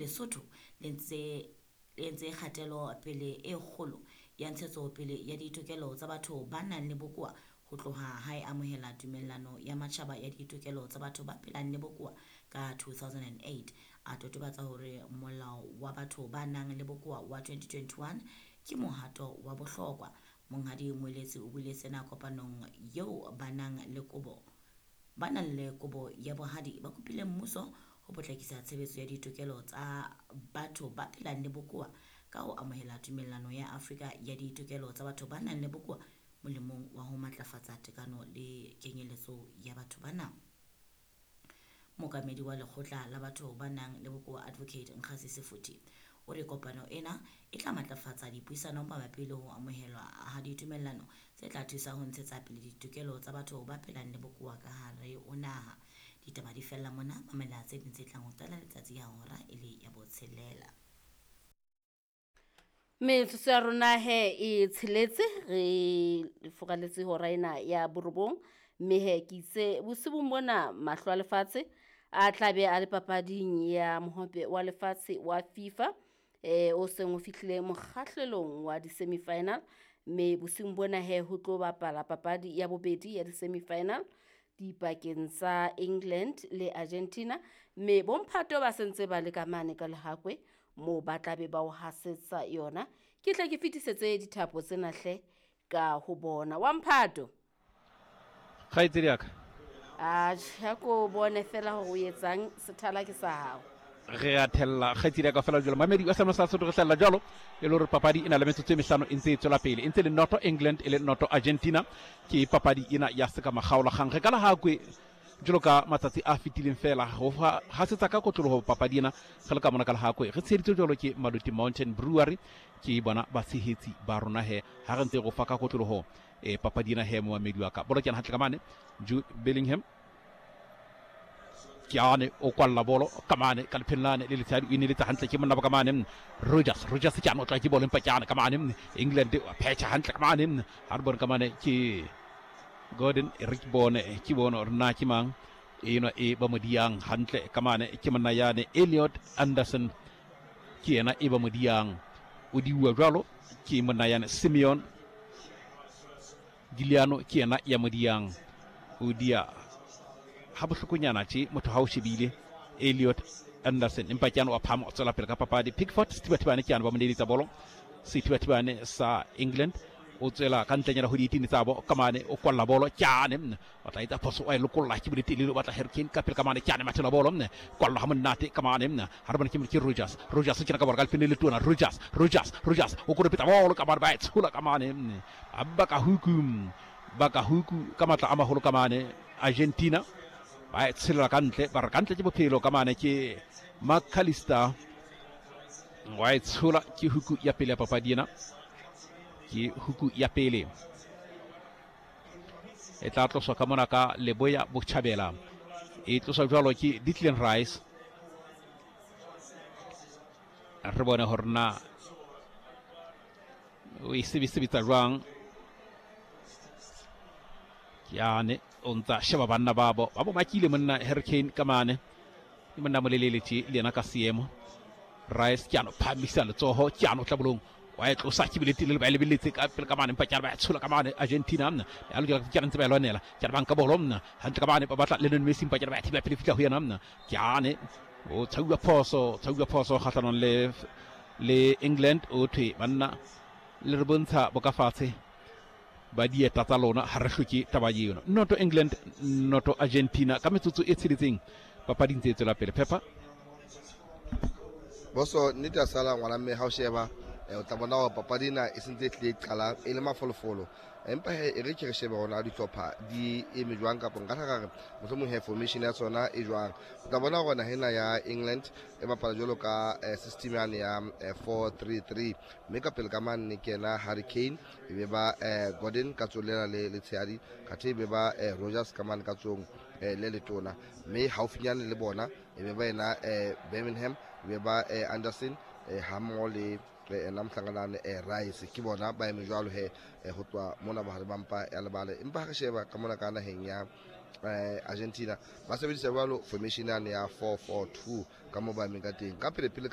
Lesotho le ntse le entse kgatelo pele e kgolo ya ntshetsopele ya ditokelo tsa batho ba nang le bokowa ho tloha ha e amohela Tumellano ya Matjhaba ya Ditokelo tsa Batho ba Phelang le Bokowa ka 2008. A totobatsa hore Molao wa Batho ba Nang le Bokowa wa 2021 ke mohato wa bohlokwa. Monghadi Moeletsi o buile sena kopanong eo ba nang le kobo ba nang le kobo ya bohadi ba kopile mmuso ho potlakisa tshebetso ya ditokelo tsa batho ba phelang le bokowa ka ho amohela Tumellano ya Afrika ya Ditokelo tsa Batho ba Nang le Bokowa molemong wa ho matlafatsa tekano le kenyeletso ya batho bana. Mookamedi wa lekgotla la batho ba nang le bokowa Advocate Nkgasi Sefuthi o re kopano ena e tla matlafatsa dipuisano mabapi le ho amohelwa ha ditumellano tse tla thusa ho ntshetsa pele ditokelo tsa batho ba phelang le bokowa ka hare ho naha. Ditaba di fella mona, mamela tse ding tse tlang ho qala letsatsi ya hora e le ya botshelela. Metsotso ya rona he e tsheletse re furaletse hora ena ya borobong, mme he ke itse bosibung bona mahlo a lefatshe a tla be a le papading ya mohope wa lefatshe wa FIFA o seng o fihlile mokgahlelong wa di-semi-final, mme bosing bona he ho tlo bapala papadi ya bobedi ya di-semi-final dipakeng tsa England le Argentina, mme bomphato ba sentse ba le ka mane ka lehakwe moo ba tla be ba o hasetsa yona. Ke tle ke fetisetse dithapo tsena hle ka ho bona. Wa mphato kgaitsedi ya ka, atjhe, ha ko bone fela hore o etsang, sethala ke sa hao. Re a thella kgaitsedi ya ka fela jalo. Mamedi wa seno sa Sotho, re hlella jalo e le hore papadi e na le metsotso e mehlano e ntse e tswela pele, e ntse le noto England e le noto Argentina. Ke papadi ena ya seka makgaolakgang re ka Lehakwe jalo ka matsatsi a fetileng fela go hasetsa ka kotloloho papadi ena re le ka mona ka Lehakwe. Re tsheheditswe jalo ke Maluti Mountain Brewery, ke bona batshehetsi ba rona he ha re ntse go fa ka kotloloho papadi ena he. Momamedi wa ka, bolo ke hantle ka mane, Jude Bellingham ke ane o kwalla bolo ka mane ka lepheng lane le letshadi, o ineletsa hantle ke monna ba ka mane Rogers. Rogers ke ane o tla ke bolo, empa ke ane ka mane England wa phetha hantle ka mane. Ha re bone ka mane ke Gordon, e re ke bone, ke bone hore na ke mang enwa e ba mo diang hantle ka mane. Ke monna yane Elliot Anderson, ke yena e ba mo diang, o diuwa jwalo ke monna yane Simeon Giuliano, ke yena ya mo diang, o dia ha bohlokonyana tje motho ha o shebile Elliot Anderson, empa ke ane wa phama o tswela pele ka papadi. Pickford sethibathibane ke ane ba mo neeletsa bolo, sethibathibane sa England o tswela ka ntlenyana ho dietini tsa bo ka mane, o kwalla bolo ke ane o tla etsa phoso, o e lokolla ke boletelele, o batla Harry Kane ka pele ka mane, ke ane mathela bolo kwalla ha monate ka mane. Ha re bone ke Rogers. Rogers o kena ka bolo ka lefeng le letona. Rogers, Rogers, Rogers o koropetsa bolo ka mane, ba e tshola ka mane, ba ka huku, ba ka huku ka matla a maholo ka mane. Argentina ba e tshelela ka ntle, ba re ka ntle ke bophelo ka mane, ke McAllister wa e tshola. Ke huku ya pele ya papadi ena, ke huku ya pele e tla tloswa ka mona ka leboya botjhabela, e tloswa jwalo ke Declan Rice. Re bone hore na o e sebetsa jwang. Ke ane o ntsa sheba banna babo ba bo makile monna Harry Kane ka mane, ke monna molelele tje le yena ka seemo. Rice ke ano phamisa letsoho, ke ano tlabolong wa e tlosa ke bile telele, ba e lebeletse ka pele ka mane, empa ke ba e tshola ka mane Argentina. Ya lokela ke ntse ba e lwanela, ke ba nka bolo hantle ka mane, ba batla Lionel Messi, empa ke ba e thiba pele fihla ho yena. Ke ane o tshauwa phoso, tshauwa phoso kgahlanong le England. O thwe banna le re bontsha bokafatshe ba dieta tsa lona, ha re hloke taba eno. Noto England noto Argentina ka metsotso e tsheletseng, papadi ntse e tswela pele. Pepper boso nnete a sala ngwana, mme ha o sheba o tla bona hore papadi ena e sentse e tlile e qala e le mafolofolo, empa he e re ke re shebe hona dihlopha di eme jwang, kapa nka tla re mohlomong he formation ya tsona e jwang. O tla bona hore naha ena ya England e bapala jwalo ka system yane ya 4-3-3, mme ka pele ka mane ke yena Harry Kane, e be ba Gordon ka tsong lena le letshehadi, khathe e be ba Rogers ka mane ka tsong le letona, mme haufinyane le bona e be ba yena Birmingham, e be ba Anderson hammoho le ena mohlanganane Rice. Ke bona ba eme jwalo he ho tloha mona bohare ba mpa ya lebala. Empa ha re sheba ka mona ka naheng ya Argentina ba sebedisa jwalo formation yane ya 4-4-2 ka mo ba emeng ka teng ka pele pele ka.